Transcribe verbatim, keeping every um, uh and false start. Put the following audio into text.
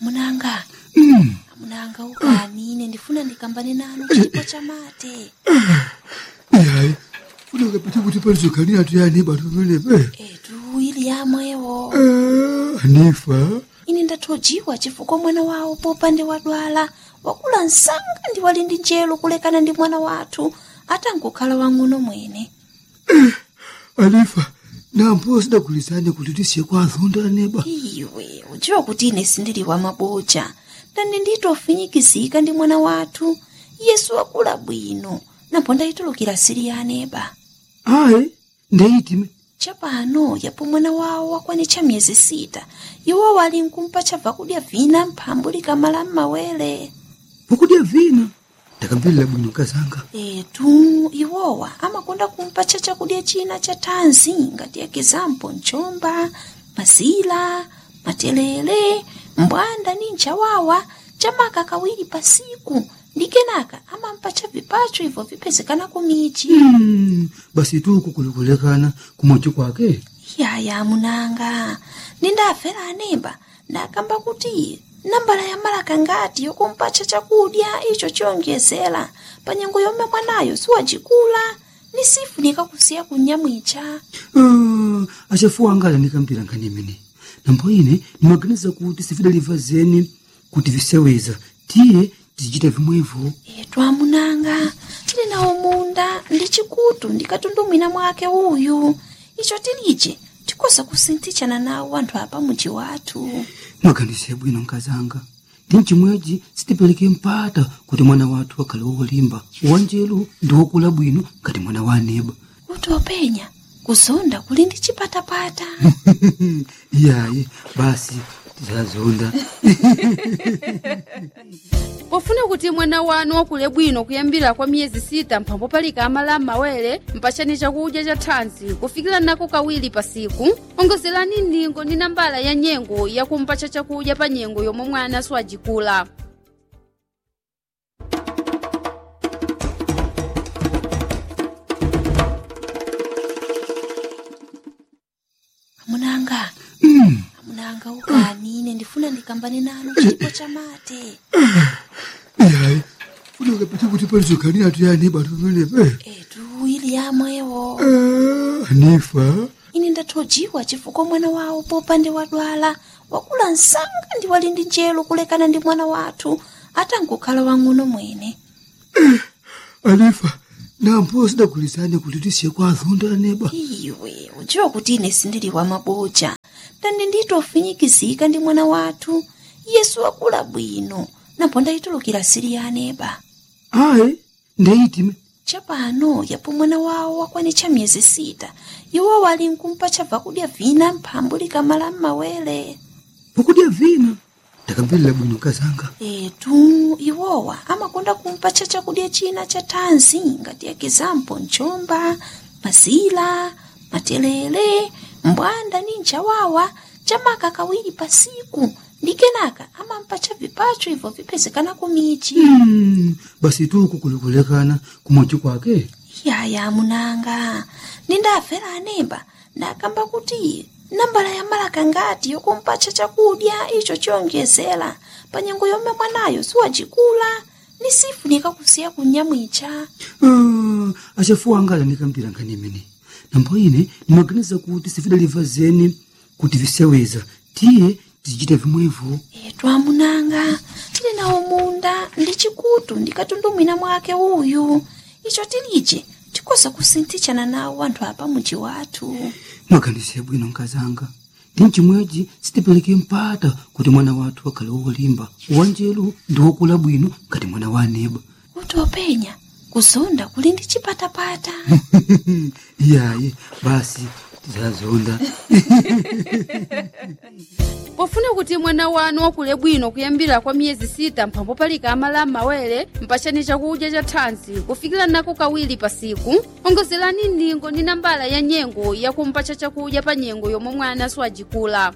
Amunanga. Amunanga, ukani ine ndifuna ndikambane nanu chipo cha mate. Yayi. Funa ukapite kuti palizokanira tuyani batu pamenepe. Etu ili yamwewo. Anifa. Ine ndathojiwa chifukwa mwana wawo popande wadwala wakula nsanga ndi wali ndi njelo kulekana ndi mwana wathu. Atankukhala wang'ono mwene. Anifa. Nampo sidagulizane kuti tisiye kwa azonda aneba. Iwe ujiwa kuti ine sindili wa maboja. Ndani nditofinyikizika ndi mwana wathu. Yesu wakula bwino. Nampo ndaitulukila sili ya aneba. Ayi. Ndeitime. Chapano yapo mwana wawo wakwane cha myezi sita. Iwo walinkumpa cha vakudya vina mphambu likamala mmawele. Vakudya vina? Ndakambilila bwino nkazanga. Etu. Iwowa amakonda kumpa cha chakudya china cha thanzi ngati ya kizampo nchomba, mazila, matelele, mbwanda ni nchawawa. Chamaka kawili pasiku. Ndi kenaka amampa cha vipacho ivo vipezekana ku michi. Basi tuku kulikulekana kumochi kwake. Yaya amunanga. Nindafela anemba. Nakamba kuti nambala ya malaka ngati yokumpacha chakudya icho chiyonjezela panyengo yomwe mwanayo siwajikula. Nisifunika kusiya kunyamwicha. Achafuwa angala nikampila nkhani imene. Nambo ine nimaganiza kuti sifidaliva zeni kuti viseweza tiye tizichita vimwevo. Etu amunanga. Tili nawo munda ndi chikutu ndi katundu mwina mwake uyu. Icho tilije tikosa kusintichana nawo wanthu apa muji wathu. Mwaganize bwino nkazanga. Ndi nchimweji sitipeleke mpata kuti mwana wathu wakhale wolimba wanjelu ndi wokula bwino ngati mwana wa aneba. Kuti openya kuzonda kuli ndi chipatapata. Iyayi. Basi tizazonda. Pofuna kuti mwana wanu wakule bwino kuyambila kwa miyezi sita mphambo palika amala mmawele mpachani chakudya cha thanzi kufikila nako kawili pasiku. Ongozelani ndingo ndi nambala ya nyengo yakumpacha chakudya pa nyengo yomwe mwana swajikula. Amunanga. Amunanga ukani ine ndifuna ndikambane nanu chipo cha mate. Yayi. Funa ukapite kuti palizokanira tuyani batu pamenepe. Etu ili yamwewo. Anifa. Ine ndathojiwa chifukwa mwana wawo popande wadwala wakula nsanga ndi wali ndi njelo kulekana ndi mwana wathu. Atankukhala wang'ono mwene. Anifa. Nampo sidagulizane kuti tisiye kwa azonda aneba. Iwe ujiwa kuti ine sindili wa maboja. Ndani nditofinyikizika ndi mwana wathu. Yesu wakula bwino. Nampo ndaitulukila sili ya aneba. Ayi. Ndeitime. Chapano yapo mwana wawo wakwane cha myezi sita. Iwo walinkumpa cha vakudya vina mphambu likamala mmawele. Vakudya vina? Ndakambilila bwino nkazanga. Etu. Iwowa amakonda kumpa cha chakudya china cha thanzi ngati ya kizampo nchomba, mazila, matelele, mbwanda ni nchawawa. Chamaka kawili pasiku. Ndi kenaka amampa cha vipacho ivo vipezekana ku michi. Basi tuku kulikulekana kumochi kwake. Yaya amunanga. Nindafela anemba. Nakamba kuti nambala ya malaka ngati yokumpacha chakudya icho chiyonjezela panyengo yomwe mwanayo siwajikula. Nisifunika kusiya kunyamwicha. Achafuwa angala nikambila nkhani imene. Nambo ine nimaganiza kuti sifidaliva zeni kuti viseweza tiye tizichita vimwevo. Etu amunanga. Tili nawo munda ndi chikutu ndi katundu mwina mwake uyu. Icho tilije tikosa kusintichana nawo wanthu apa muji wathu. Mwaganize bwino nkazanga. Ndi nchimweji sitipeleke mpata kuti mwana wathu wakhale wolimba wanjelu ndi wokula bwino ngati mwana wa aneba. Kuti openya kuzonda kuli ndi chipatapata. Iyayi. Basi tizazonda. Pofuna kuti mwana wanu wakule bwino kuyambila kwa miyezi sita mphambo palika amala mmawele mpachani chakudya cha thanzi kufikila nako kawili pasiku. Ongozelani ndingo ndi nambala ya nyengo yakumpacha chakudya pa nyengo yomwe mwana swajikula.